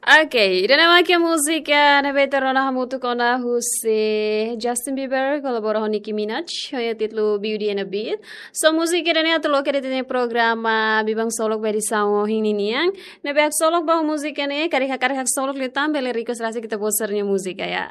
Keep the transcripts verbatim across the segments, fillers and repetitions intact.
Ok, ida-ne'e mak múzika ne'ebé ita rona hamutuk ona husi Justin Bieber kolabora ho Nicki Minaj, ho títulu Beauty and the Beast. So múzika ida-ne'e atu loke de'it iha programa Biban Ksolok ba edisaun ohin ninian. Ne'ebé haksolok ba múzika ne'e, karik hakarak haksolok liután bele request rasik ita-boot sira-nia múzika ya.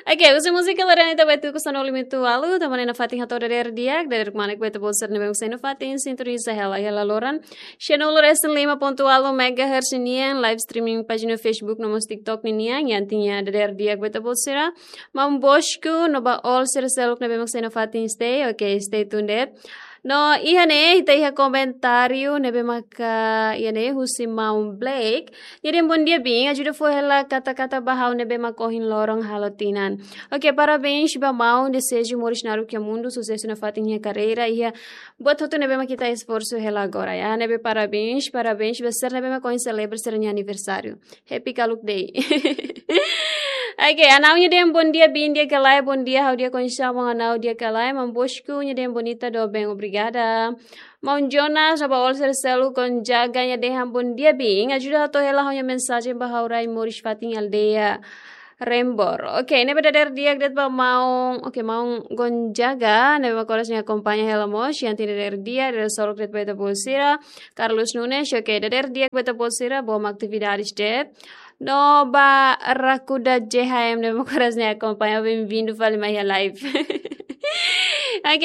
Ok, husi múzika loron ita bá tuku sanulu-resin-ualu, tanba ne'e nafatin hato'o dadeer di'ak, dadeer kmanek ba ita-boot sira ne'ebé mak sei nafatin sintoniza hela iha loron. Sanulu-resin-lima pontu ualu megahertz nian, live streaming pájina Facebook no mós TikTok ninian, iha tiha dadeer di'ak ba ita-boot sira. Maun Bosco, no ba all sira seluk ne'ebé mak sei nafatin stay, ok, stay tuned. No iha ne'e, ita iha komentáriu ne'ebé maka iha ne'e husi Maun Blake. Nia dehan bondia biin, ajuda fó hela kata-kata ba ha'u ne'ebé mak ohin loron halo tinan. Ok, parabéns ba maun, deseju moris naruk iha mundu, susesu nafatin iha karreira, iha buat hotu ne'ebé mak ita esforsu hela agora ya. Ne'ebé parabéns, parabéns ba sira ne'ebé mak ohin selebra sira-nia aniversáriu. Happy Kaluk Day. Ok, Anau nia dehan bondia biin di'ak ka lae, bondia ha'u di'ak oinsá maun Anau, di'ak ka lae, Maun Bosco nia dehan bonita doben, obrigada. Maun Jonas, no ba all sira seluk, Gonzaga nia dehan bondia biin, ajuda hato'o hela ha'u-nia mensajen ba ha'u rai moris fatin aldeia Rembor. Ok, ne'ebé dadeer di'ak de'it ba maun, ok, maun Gonzaga, ne'ebé mak oras ne'e akompaña hela mós, iha tiha dadeer di'ak, dadeer solok de'it ba ita-boot sira, Carlos Nunes, ok, dadeer di'ak ba ita-boot sira, boa mak atividades de'it. No ba Rakuda J H M ne'ebé mak oras ne'e akompaña, bem-vindo fali mai iha live. Ok,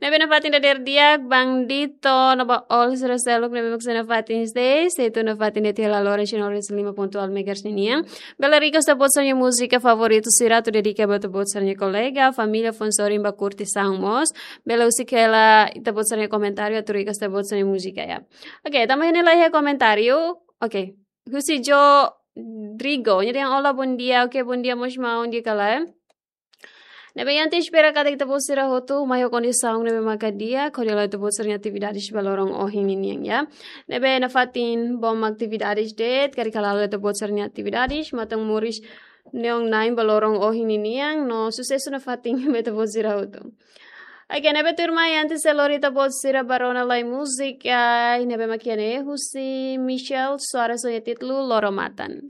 ne'ebé nafatin dadeer di'ak, Bandito, no ba all sira seluk ne'ebé mak sei nafatin stay, stay tuned nafatin de'it iha loron sanulu-resin-lima pontu ualu megahertz ninian. Bele request ita-boot sira-nia múzika favoritu sira atu dedika ba ita-boot sira-nia kolega, família, fó sorin ba kurtisaun mós. Bele husik hela ita-boot sira-nia komentáriu atu request ita-boot sira-nia múzika ya. Ok, tanba ne'e laiha komentáriu. Ok. Husi Joe Drigo, nia dehan olá, bondia. Ok, bondia mós maun, di'ak ka lae. Ne'ebé ita espera katak ita-boot sira hotu mai ho kondisaun ne'ebé maka di'ak, hodi halo ita-boot sira-nia atividades ba loron ohin ninian ya. Ne'ebé nafatin boa mak atividades de'it, karik hala'o ita-boot sira-nia atividades, matan moris neon nain ba loron ohin ninian, no susesu nafatin ba ita-boot sira hotu. Ok, ne'ebé tuirmai, antes de lori ita-boot sira ba rona lai múzika, ne'ebé mak iha ne'e husi Michelle Soares ho títulu Loro Matan.